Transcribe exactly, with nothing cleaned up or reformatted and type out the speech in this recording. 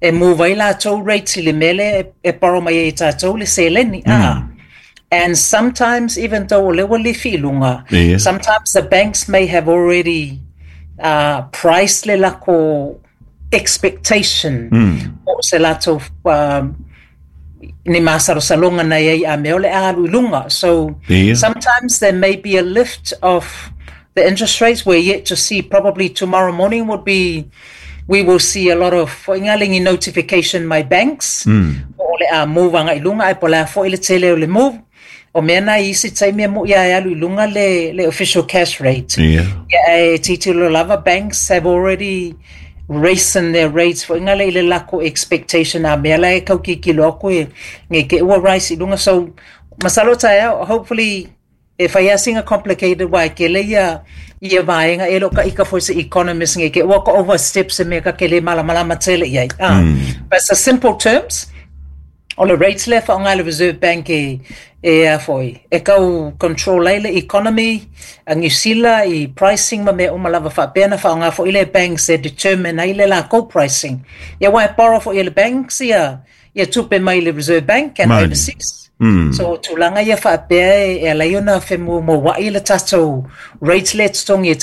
E move ai latou rates i le mea lea e, e borrow mai ai e tatou le seleni. Mm. Ah. And sometimes, even though o lea ua lifi i luga, Ia. sometimes the banks may have already uh, priced le lako expectation Mm. o se latou um, ni masalosaloga na iai a mea o le a alu i luga. So Ia. sometimes there may be a lift of the interest rates. We're yet to see. Probably tomorrow morning would be, we will see a lot of foʻiga notification my banks Mm. o le a move aga i luga ae po o le a foʻi le tele o le move o mea na i isi taimi e moʻi ae alu i luga le, le official cash rate. Ia. Ia, e tilotilo lava, banks have already raised their rates foʻiga le i le lako expectation a mea la e kaukikilo aku e nge ke ua rise i luga. So masalo taeao, hopefully e fai lava sina complicated uā e kele ia ia vaega e leo taʻika foi se economist nge ke ua ka overstep se mea ka ke lē malamalama tele i ai ah. Mm. But it's simple terms, o le rates lea faaaoga le Reserve Bank e e a foi e kau control ai le economy a Niu Sila i pricing ma mea uma lava faapea na faaaoga foʻi le banks e determine ai le lakou pricing. Ia uā e borrow foʻi e le banks ia ia tupe mai le Reserve Bank and Mani. overseas. Mm. So tulaga ia faapea e, e alai ona femuamuaʻi le tatou rates le totogi e.